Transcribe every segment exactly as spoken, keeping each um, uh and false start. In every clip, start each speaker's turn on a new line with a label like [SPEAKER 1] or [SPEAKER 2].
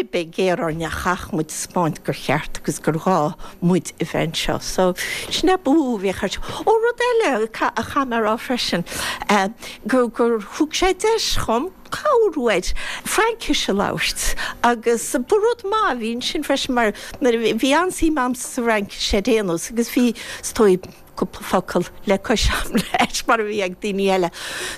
[SPEAKER 1] Beidh géar orainn ach chaithfeadh muid taispeáint gur cheart agus gur ghá muid a bheith anseo. So sin é ba mhó a bhíodh ar siúl. Ó rud eile a chaithfidh mé a rá freisin, gur gur thug sé deis dhom cabhrú air Fraincis a labhairt agus ba rud maith a bhí ansin freisin mar nuair a bhí an-suim a'msa sa Fhraincis ar aon nós agus bhí is dóigh cúpla focal le cois a'm leis mar a bhí ag daoine eile.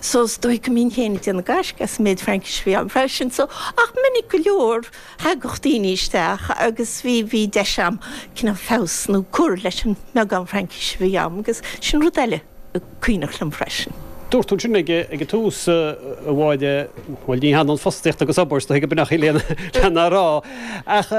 [SPEAKER 1] So is dóigh go mbínn féin ag déanamh gaisce as an méid Fraincise a bhí a'm freisin. So ach minic go leor thagadh daoine isteach agus bhí bhí deis a'm cineál feabhas nó cur leis an mbeagán Fraincise a bhí a'm agus sin rud eile cuimhneach liom freisin.
[SPEAKER 2] Dúirt tú ansin ag ag an tús a Mháire, bhuel ní hionann fostaíocht agus obair is dóigh go b'in í lena rá ach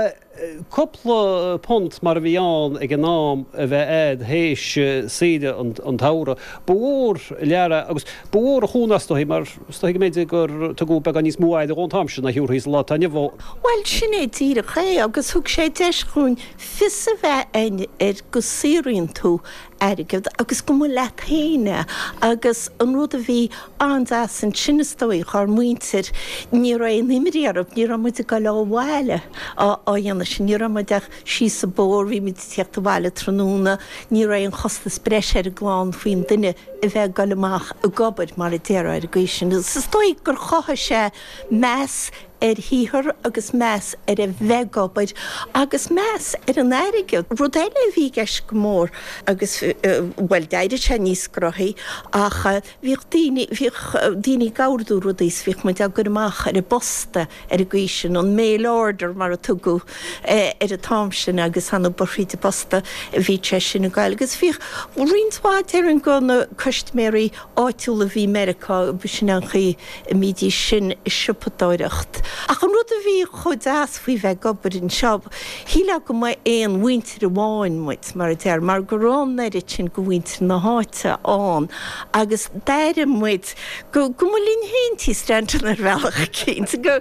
[SPEAKER 2] cúpla punt mar a bhí ann ag an am a bheith a'd théis saoire an tsamhraidh. Ba mhór lear é agus ba mhór an chúnamh is dóigh mar is dóigh go mb'fhéidir gur tugadh beagán níos mó aire dhó an t-am sin ná thiúrfaí sa lá atá inniu ann.
[SPEAKER 1] Bhuel sin é díreach é agus thug sé deis dhúinn fios a bheith a'inn ar go saothraíonn tú airgead agus go mba leat féin é agus an rud a bhí an-deas ansin is dóigh dhár muintir ní raibh aon imní orthu, ní raibh muid ag dul ó bhaile á dhéanamh sin, ní raibh muid ach síos an bóthar, bhí muid ag tíocht abhaile tráthnóna, ní raibh aon chostas breise ar an gclann faoin duine a bheith ag dul amach ag obair mar a déarfá ar an gcaoi sin. Is dóigh gur chothaigh sé meas ar shaothar agus meas ar a bheith ag obair agus meas ar an airgead. Rud eile a bhí i gceist go mór agus, bhuel, d'éirigh sé níos gnóthaí ach bhíodh daoine, bhíodh daoine ag ordú rudaí is bhíodh muid á gcur amach ar an bposta ar an gcaoi sin, an mail order mar a tugadh ar an t-am sin agus ar ndóigh ba thríd an bposta a bhí sé sin ag goil. Agus bhíodh roinnt mhaith déarfainn de na custaiméirí áitiúla a bhí i Meiriceá, b'shin an chaoi a mbídís sin ag siopadóireacht. Ach an rud a bhí chomh deas faoi bheith ag obair anseo, shílfeá go mba aon mhuintir amháin muid, mar a deir, mar go raibh an oiread sin de mhuintir na háite ann agus d'airigh muid go go mba linn féin Tí Stanton ar bhealach eicínt, go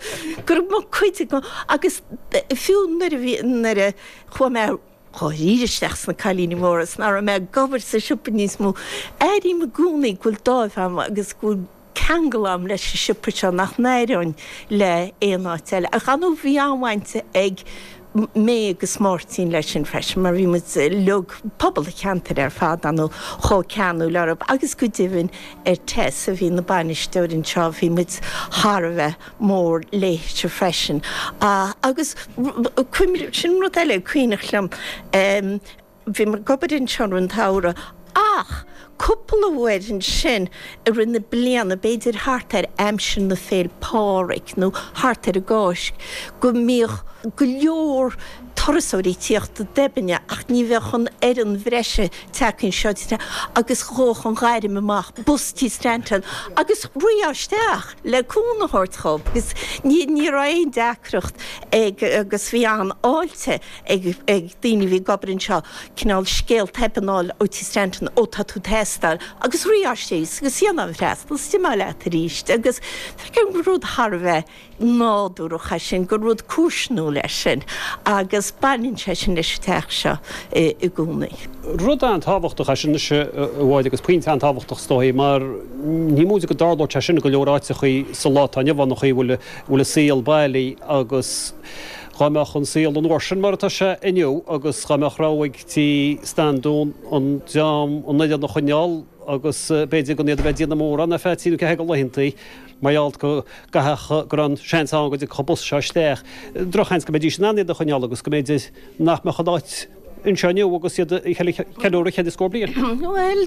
[SPEAKER 1] go raibh muid cuid de agus fiú nuair a bhí nuair a chuaigh mé dháiríre isteach sna Cailíní Móra is nach raibh mé ag obair sa siopa níos mó, airím i gcónaí go bhfuil dáimh a'm agus go bhfuil ceangal a'm leis an siopa seo nach n-aireoinn le aon áit eile. Ach ar ndóigh bhí an-bhaint ag mé agus Máirtín leis sin freisin mar bhí muid uilig, pobal an cheantair ar fad ar ndóigh, chomh ceanúil orthu agus go deimhin ar Tess a bhí ina bainisteoir anseo, bhí muid thar a bheith mór léithe freisin. Agus sin rud eile cuimhneach liom, bhí mé ag obair anseo i rith an tsamhraidh ach cúpla uair ansin i rith na bliana, b'fhéidir thart ar aimsir na Féil' Pádraig nó thart ar an gCáisc, go mbíodh go leor turasóirí ag tíocht i dTeibinne ach ní bheadh an fhoireann bhreise tagtha anseo agus ghabhadh an ghairm amach, bus Tí Stanton agus rithfeá isteach le cúnamh a thabhairt dhób agus ní ní raibh aon deacracht ag agus bhí an-fháilte ag ag daoine a bhí ag obair anseo cineál scéal Theibinn a fháil ó Tí Stanton ó tá tú ag teastáil agus rithfeá síos agus dhéanfá an freastal is d'imeofá leat arís agus feicim gur rud thar a bheith nádúrach é sin, gur rud comharsanúil é sin agus baineann sé sin leis an teach seo i gcónaí.
[SPEAKER 2] Rud an-tábhachtach é sin anois a Mháire agus pointe an-tábhachtach is dóigh mar ní móide go dtarlódh sé sin i go leor áiteachaí sa lá atá inniu ann an chaoi a bhfuil bhfuil an saol bailithe agus dhá mbeadh an saol an uair sin mar atá sé inniu agus dhá mbeadh rogha ag Tí Standún an dream an fhoireann a choinneáil agus b'fhéidir gan iad a bheith ag déanamh mórán ar feadh trí nó ceathair de laethantaí mar gheall go gcaithfeadh go raibh an seans ann go dtiocfadh an bus seo isteach. Drochsheans go mbeidís in ann iad a choinneáil agus go mb'fhéidir nach mbeadh an áit anseo inniu agus iad ag ceiliúradh ceithre scór bliain.
[SPEAKER 1] Bhuel,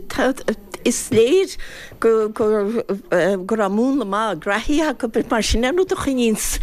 [SPEAKER 1] is léir go go raibh múnla maith graithí acu mar sin an rud a choinníonns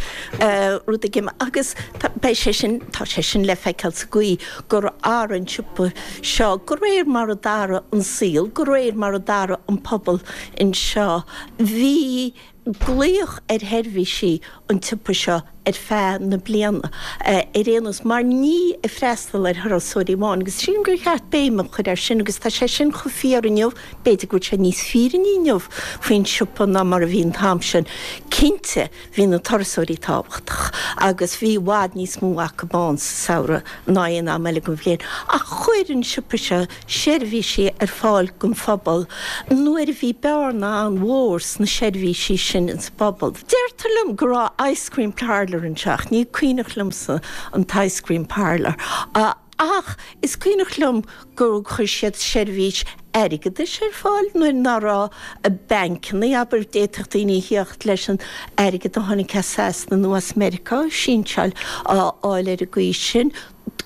[SPEAKER 1] rud ag imeacht agus beidh sé sin, tá sé sin le feiceáil sa gcaoi gur athraigh an siopa seo de réir mar a d'athraigh an saol, de réir mar a d'athraigh an pobal anseo. Bhí glaoch ar sheirbhísí an tsiopa seo ar feadh na bliana ar aon nós, mar ní ag freastal ar thurasóirí amháin, agus sílim gur cheart béim a chur air sin, agus tá sé sin chomh fíor inniu, b'fhéidir go bhfuil sé níos fírinní inniu faoin siopa ná mar a bhí an t-am sin. Cinnte, bhí na turasóirí tábhachtach, agus bhí i bhfad níos mó acu ann sa samhradh ná aon am eile den bhliain, ach chuir an siopa seo seirbhísí ar fáil don phobal nuair a bhí bearna an-mhór sna seirbhísí sin. sin ins bpobal. Deirtear liom go raibh ice cream parlour anseo, ní cuimhneach liomsa an ice cream parlour. Uh, ach is cuimhneach liom gur chuir siad seirbhís airgeadais ar fáil nuair nach raibh bancanna abair d'fhéadfadh daoine theacht leis an airgead a tháinig as Sasana nó as Meiriceá sínseáil á fháil ar an gcaoi sin.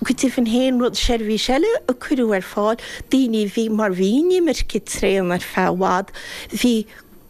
[SPEAKER 1] Go deimhin féin rud seirbhís eile a cuireadh ar fáil, daoine bhí mar bhí imirce tréan ar feadh i bhfad, bhí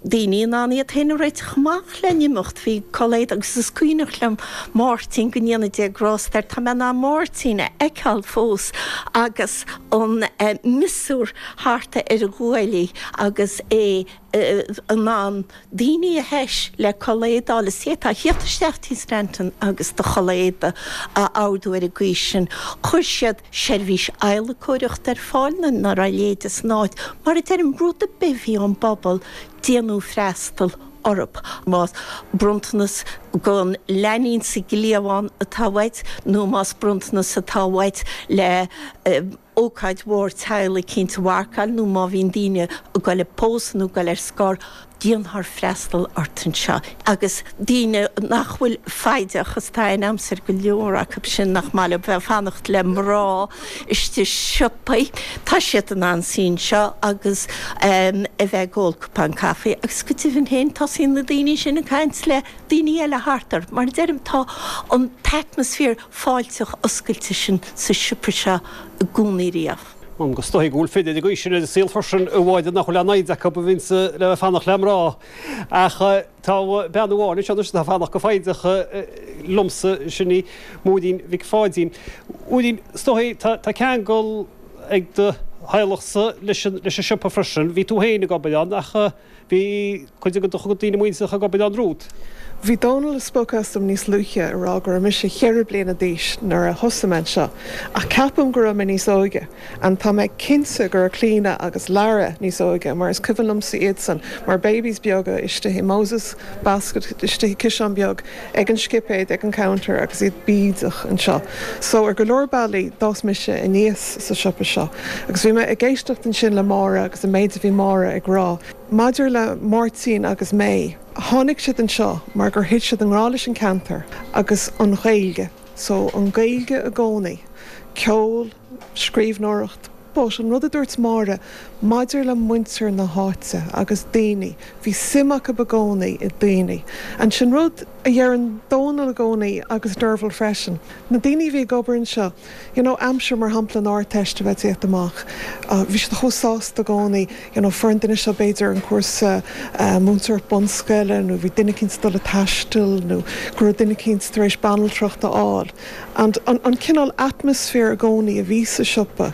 [SPEAKER 1] daoine in ann iad féin a réiteach amach le n-imeacht, bhí culaith agus is cuimhneach liom Máirtín go ndéana Dia grásta air, tá mé in ann Máirtín a fheiceáil fós agus an miosúr thart ar a ghuaillí agus é in ann daoine a theis le culaith éadaí is é tá theacht isteach tí Stanton agus do chulaith éadaí a ordú ar an gcaoi sin. Chuir siad seirbhís adhlacóireachta ar fáil nuair nach raibh leide san áit, mar a deirim rud ar bith a bhí ón bpobal déanadh freastal orthu. Más bronntanas don leainín sa gcliabhán atá uait nó más bronntanas atá uait le ócáid mhór teaghlaigh eicínt a mharcáil nó má bhíonn daoine ag goil ag pósadh nó ag goil ar scor, déanfar freastal ort anseo. Agus daoine nach bhfuil foighdeach is tá in aimsir go leor acu sin nach maith leo bheith ag fanacht le mná istigh i siopaí, tá siad in ann suí anseo agus a bheith ag ól cupán caife agus go deimhin féin tosaíonn na daoine sin ag caint le daoine eile thart orthu. Mar a deirim, tá an t-atmaisféar fáilteach oscailte sin sa siopa seo i gcónaí riamh.
[SPEAKER 2] Agus is dóigh go bhfuil fir ag aois sin ar an saol freisin i bhfad nach bhfuil aon fhoighid acu a bhíonns le bheith ag fanacht le mná. Ach tá bean amháin anseo anois atá ag fanacht go foighdeach liomsa, sin í Máirín Mhic Pháidín. Máirín, is dóigh tá ceangal ag do theaghlachsa leis an siopa freisin. Bhí tú féin ag obair ann ach bhí cuid de do chuid daoine muinteartha ag obair ann romhat.
[SPEAKER 3] Bhí Dónal ag spochadh asam níos luaithe ag rá go raibh mise ceithre bliana d'aois nuair a thosaigh mé anseo, ach ceapaim go raibh mé níos óige and tá mé cinnte go raibh Clíona agus Lara níos óige mar is cuimhin liomsa iadsan mar babies beaga istigh i Moses basket istigh i ciseán beag ag an scipéad ag an counter agus iad bídeach anseo. So ar go leor bealaí d'fhás mise aníos sa siopa seo. Agus bhí mé ag éisteacht ansin le Máire agus an méid a bhí Máire ag rá. Maidir le Máirtín agus May, tháinig siad anseo mar gur thit siad i ngrá leis an ceantar agus an Ghaeilge, so an Ghaeilge i gcónaí, ceol, scríbhneoireacht, but an rud a dúirt Máire maidir le muintir na háite agus daoine, bhí suim acu i gcónaí i daoine. And sin rud a dheireann Dónal i gcónaí agus Derval freisin. Na daoine a bhí ag obair anseo, you know, aimsir mar shampla an Ardteist a bheith ag tíocht amach, bhí siad chomh sásta i gcónaí, you know, fuair an duine seo b'fhéidir an cúrsa múinteoireacht bunscoile nó bhí duine eicínt ag dul ag taisteal nó go raibh duine eicínt tar éis banaltracht a fháil. And an, an cineál atmaisféar i gcónaí a bhí sa siopa,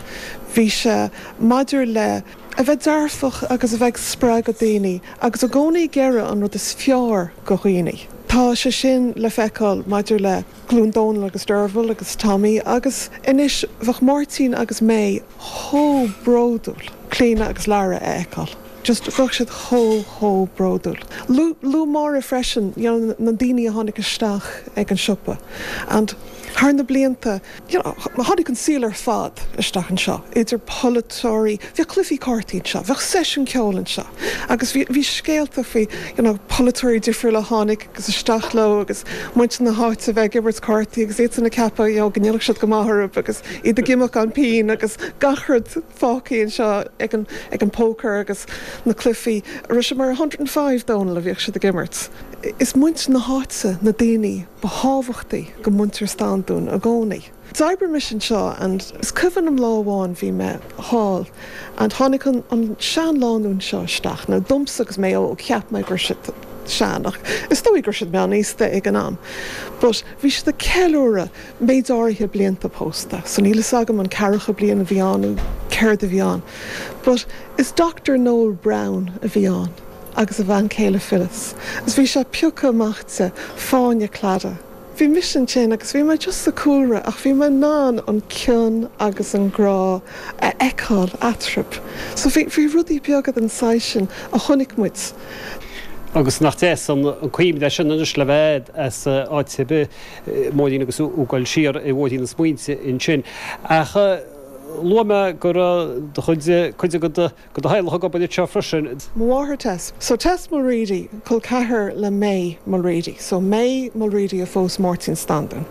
[SPEAKER 3] bhí sé maidir le a bheith dearfach agus a bheith ag spreagadh daoine agus i gcónaí ag iarraidh an rud is fearr go dhaoine. Tá sé sin le feiceáil maidir le glúin Dónal agus Derval agus Tommy agus anois bheadh Máirtín agus May chomh bródúil Clíona agus Lara a fheiceáil. Just bheadh siad chomh chomh bródúil. Luaigh Máire freisin you know, na daoine a tháinig isteach ag an siopa. And thar na blianta, you know, tháinig an saol ar fad isteach anseo, idir polaiteoirí, bhíodh cluichí cártaí anseo, bheadh seisiún ceoil anseo, agus bhí bhí scéalta faoi you know, polaiteoirí difriúla a tháinig agus isteach leo agus muintir na háite bheith ag imirt cártaí agus iad san ag ceapadh you know, go ndéanfadh siad go maith orthu agus iad ag imeacht gan pingin agus gach rud fágtha anseo ag an, ag an pócar agus na cluichí. Raibh sé mar a hundred and five Dónal a bhíodh siad ag imirt. Is muintir na háite na daoine ba thábhachtaí go muintir Standún i gcónaí. D'oibrigh mise anseo and is cuimhin liom lá amháin bhí mé thall and tháinig an, an seanlánúin seo isteach. Now domsa agus mé óg cheap mé go raibh siad sean ach is dóigh go raibh siad meánaosta ag an am. But bhí siad ag ceiliúradh méid áirithe blianta pósta, so níl fhios agam an ceathracha bliain a bhí ann nó céard a bhí ann. But is Doctor Noel Brown a bhí ann agus a bhean chéile Phyllis. Is bhí sé pioctha amach de fáinne cladaigh. Bhí mise ansin agus bhí mé just sa cúlra ach bhí mé in ann an cion agus an grá a fheiceáil eatarthu. So bhí, bhí rudaí beaga den saghas sin a chonaic muid.
[SPEAKER 2] Agus nach deas an cuimhne sin anois le bheith as áit ar bith, Máirín agus tú ag dul siar i bhfóirín na smaointe ansin. Ach Luaigh mé go raibh do chuid, cuid de do theaghlach ag obair anseo freisin.
[SPEAKER 3] Mo mháthair Tess. So Tess Mulready, col ceathar le May Mulready. So May Mulready a phós Máirtín Standún.